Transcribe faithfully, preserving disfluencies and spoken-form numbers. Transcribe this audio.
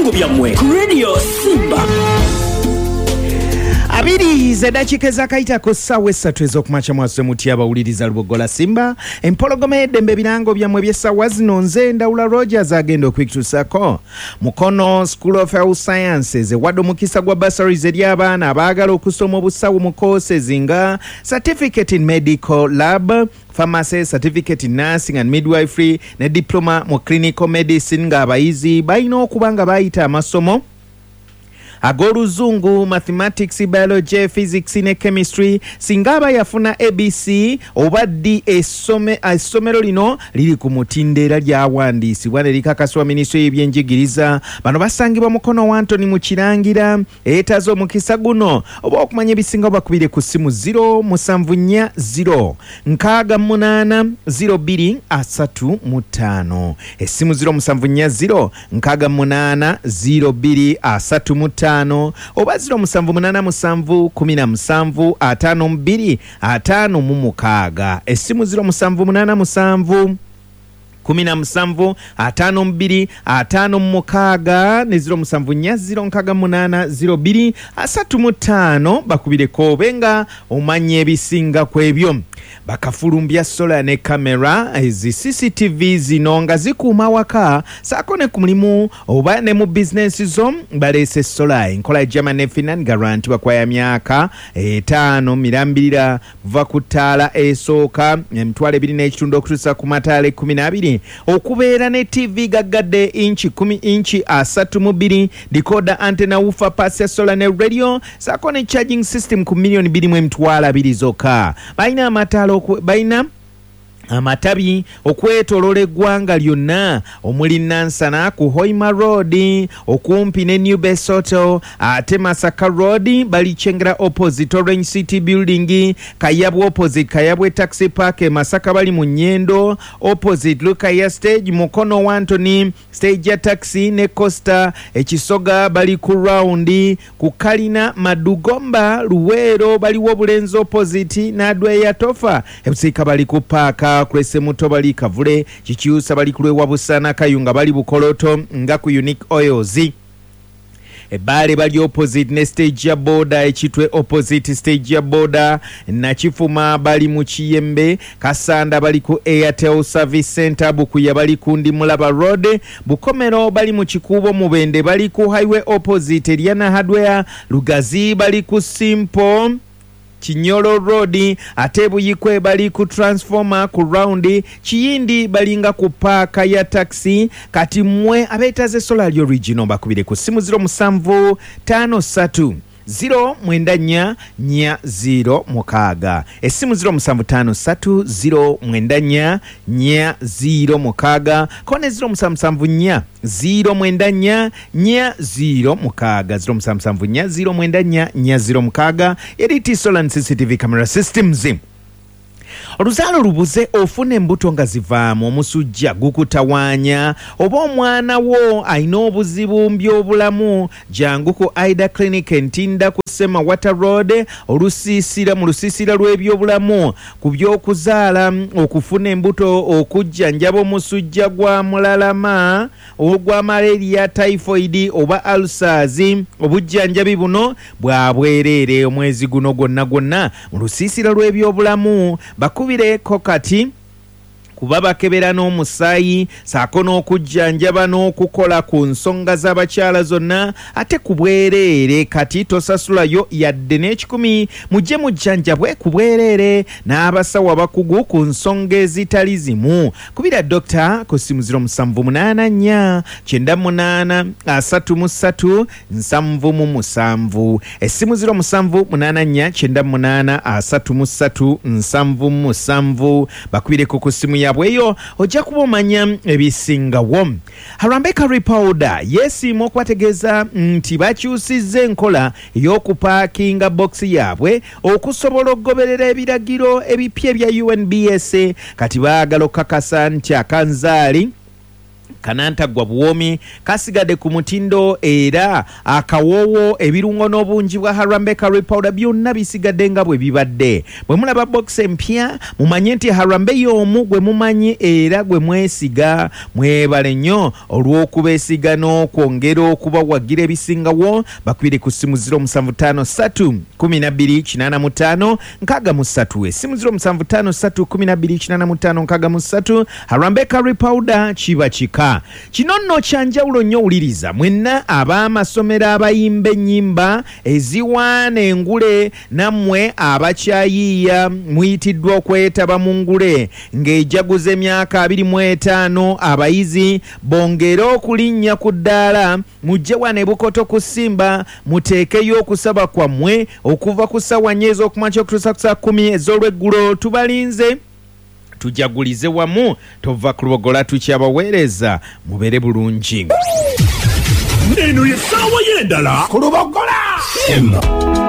Ebirango byammwe ku Radio Simba. Abiri z'eddakiika ezakayita ku ssaawa essatu ez'okumakya. Mwasuze mutya abawuliriza Lubogola Simba, empologoma y'eddembe? Ebirango byammwe eby'essaawa zino, nze Ndawula Rogers agenda okwituusako. Mukono School of Health Sciences ewadde omukisa gwa bursaries eri abaana abaagala okusoma obusawo mu courses nga certificate in medical lab, pharmacy, certificate in nursing and midwifery ne diploma mu clinical medicine, ng'abayizi balina okuba nga bayita amasomo ag'Oluzungu, mathematics, biology, physics ne chemistry. Singa aba yafuna A B C oba D, essome- essomero lino liri ku mutindo era lyawandiisibwa ne likakasibwa minisitule y'ebyenjigiriza. Bano basangibwa Mukono wa Antony mu Kirangira. Eyeetaaza omukisa guno oba okumanya ebisingawo, bakubire ku ssimu zero musanvu nnya zero nkaaga munaana zero bbiri asatu mu ttaano. Essimu zero musanvu nnya zero nkaaga munaana zero bbiri asatu mu ttaano oba zero musanvu munaana musanvu kumi na musanvu ataano mu bbiri ataano mu mukaaga. Essimu zero musanvu munaana musanvu kumi na musanvu ataano mu bbiri ataano mu mukaaga ne zero musanvu nnya zero nkaaga munaana zero bbiri asatu mu ttaano. Bakubireko obe nga omanya ebisinga ku ebyo. Bakafulumbya solar ne kamera ezi C C T V zino nga zikuuma waka saako ne ku mulimu oba ne mu bizinensi zo. Baleese solar enkola ya German ne Finland, guarantee bakwaya myaka etaano mirambirira, kuva ku ttaala esooka emitwalo ebiri n'ekitundu okutuusa ku mataala ekkumi n'abiri. Okubeera ne T V gaggadde inchi kumi, inchi asatu mu bbiri, decoder, antenna, woofer, parts ya solar ne radio saako ne charging system ku miliyoni bbiri mu emitwalo abiri zokka. Balina amataala oku- balina amatabi okwetooloola eggwanga lyonna, omuli Nansana ku Hoima Road okumpi ne New Best Hotel, ate Masaka Road bali Kyengera opposite Orange City Building, Kayabwe opposite Kayabwe Taxi Park. E Masaka bali mu Nyendo opposite Lukaya Stage, Mukono Wantoni stage ya taxi ne Costa. Ekisoga bali ku round ku Kalina Madugomba. Luweero baliwo Bulenzi opposite Nadweya Tofa. Ebusiika bali ku paaka Kulesemuto, bali Kavule. Kikyusa bali ku lwewa Busana. Kayunga bali Bukoloto nga ku Unique Oils. Ebbaale bali opposite ne stage ya boda. Ekitwe opposite stage ya boda. Nakifuma bali mu Kiyembe. Kasanda bali ku Airtel Service Center. Bukuya bali ku Ndimulaba Road. Bukomero bali mu Kikuubo. Mubende bali ku highway opposite Eriana Hardware. Lugazi bali ku Simple Kinyolo Road, ate Buyikwe bali ku transformer ku round. Kiyindi balinga ku paaka ya taxi. Kati mmwe abeetaze solar original, bakubire ku simu zero musanvu ttaano ssatu zero mwenda nnya nnya zero mukaaga. Essimu zero musanvu ttaano ssatu zero mwenda nnya nnya zero mukaaga ko ne zero musanvu musanvu nnya zero mwenda nnya nnya zero mukaaga, zero musanvu musanvu nnya zero mwenda nnya nnya zero mukaaga. Eriti Solar and C C T V Camera Systems. Oluzaalo lubuze, ofuna embuto nga zivaamu, omusujja gukutawaanya, oba omwana wo alina obuzibu mu byobulamu, jangu ku Ida Clinic Entinda ku Semawata Road, olusiisira mu lusiisira lw'ebyobulamu ku by'okuzaala, okufuna embuto, okujjanjaba omusujja gwa mulalama, ogwa malaria, typhoid oba ulcers. Obujjanjabi buno bwa bwereere omwezi guno gwonna gwonna mu lusiisira lw'ebyobulamu. Bakubireko kati kuba bakebera n'omusaayi saako n'okujjanjaba n'okukola ku nsonga z'abakyala zonna, ate ku bwereere. Kati tosasulayo yadde n'ekikumi. Mujje mujjanjabwe ku bwereere n'abasawo abakugu ku nsonga ezitali zimu. Kubira dokita ku simu zero musanvu munaana nnya kyenda munaana asatu mu ssatu nsanvu mu musanvu. Essimu zero musanvu munaana nnya kyenda munaana asatu mu ssatu nsanvu mu musanvu. Bakubireko ku simu yaabwe eyo, ojja kuba omanya ebisingawo. Harambee Curry Powder yeesiima okubategeeza nti bakyusizza enkola ey'okupaakinga bokisi yaabwe okusobola okugoberera ebiragiro ebipya ebya U N B S. Kati baagala okukakasa nti akanzaali Kanantaggwa buwoomi kasigadde ku mutindo, era akawoowo, ebirungo n'obungi bwa Harambee Curry Powder byonna bisigadde nga bwe bibadde. Bwe mulaba box empya, mumanye nti Harambee y'omu gwe mumanyi era gwe mwesiga. Mwebale nnyo olw'okubeesiga n'okwongera okubawagira ebisingawo. Bakubire ku ssimu ziro musanvu ttaano ssatu kumi na bbiri kinaana mu ttaano nkaaga mu ssatu, essimu ziro musanvu ttaano ssatu kumi na bbiri kinaana mu ttaano nkaaga mu ssatu. Harambee Curry Powder kiba kika. Kino nno kya njawulo nnyo. Wuliriza mwenna ab'amasomero abayimba ennyimba eziwaana engule, nammwe abakyayiiya muyitiddwa okwetaba mu ngule ng'ejaguza emyaka abiri mu etaano. Abayizi bongere okulinnya ku ddaala, mujje wano e Bukoto ku Simba, muteekeyo okusaba kwammwe okuva ku ssaawa nnya ez'okumakya okutuusa ku ssaawa kkumi ez'olweggulo. Tubalinze, tujagulize wamu. Tova ku Lubogola, tukyabaweereza, mubeere bulungi. Eno ye ssaawa y'endala ku Lubogola. Simba.